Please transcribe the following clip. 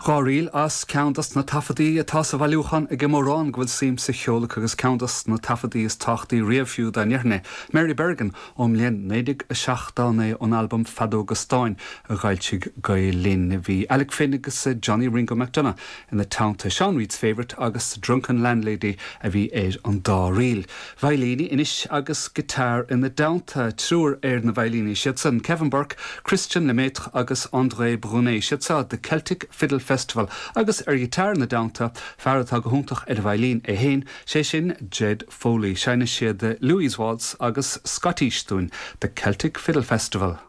Ríl as ceann dos na taifeadtaí atá sa bhailiúchán ag mórán go bhfuil suim sa cheol acu agus ceann dos na taifeadtaí is tábhachtaí riamh fiú dá ndéarfainn é, Mary Bergin ón mbliain 1979 ón albam Feadóga Stáin a d'fhoilsigh Gael Linn. Bhí Alec Finn agus Johnny Ringo McDonagh ina teannta. Sean Reid's Favourite agus The Drunken Landlady a bhí ar an dá ríl. Veidhlíní anois agus guitar ina dteannta. Triúr ar na veidhlíní, siad san Kevin Burke, Christian Lemaitre agus André Brunet. Siad seo The Celtic Fiddle Festival agus ar ghiotár ina dteannta, fear atá go hiontach ar an veidhlín é féin, sé sin Jed Foley. Seinnfidh siad Louise Waltz agus Scottish dúinn, The Celtic Fiddle Festival.